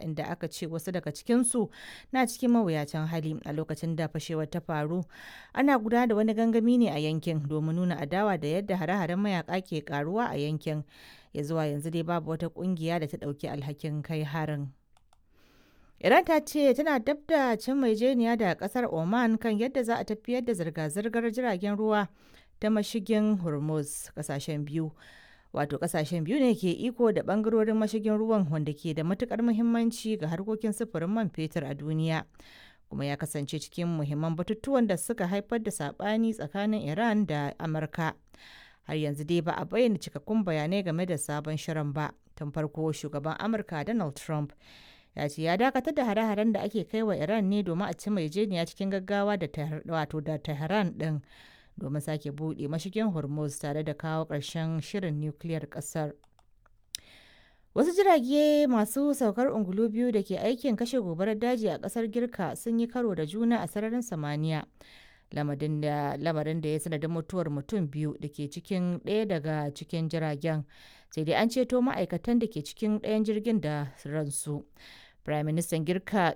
inda aka ce wasu daga cikinsu na cikin mawuyacin hali a lokacin da fashewar ta faru. Ana gudanar da wani gangami ne a yankin domin nuna adawa da yadda hare-haren mayaka ke karuwa a yankin. Ya zuwa yanzu dai babu wata kungiya da ta ɗauki alhakin kai harin. Iran ta ce tana dab da cin maijeniya da kasar Oman kan yadda za a tafiyar da zirga-zirgar jiragen ruwa ta mashigin Hormuz kasashen biyu. Wato kasashen biyu ne ke iko da bangarorin mashigin ruwan wanda ke da matukar muhimmanci ga harkokin sufurin man fetur a duniya. Kuma ya kasance cikin muhimman batutuwan da suka haifar da sabani tsakanin Iran da Amurka. Har yanzu dai ba a bayyana cikakkun bayanai game da sabon shirin ba. Tun farko shugaban Amurka Donald Trump ya ce ya dakatar da hare-haren da ake kai wa Iran ne domin a ci maijeniya cikin gaggawa da wato da Tehran din domin sake buɗe mashigin Hormuz tare da kawo ƙarshen shirin nukiliyar ƙasar. Wasu jirage masu saukar ungulu biyu da ke aikin kashe gobarar daji a ƙasar Girka sun yi karo da juna a sararin samaniya. Lamarin da ya sanadin mutuwar mutum biyu da ke cikin ɗaya daga cikin jiragen, sai dai an ceto ma'aikatan da ke cikin ɗayan jirgin da ransu. Firaministan Girka.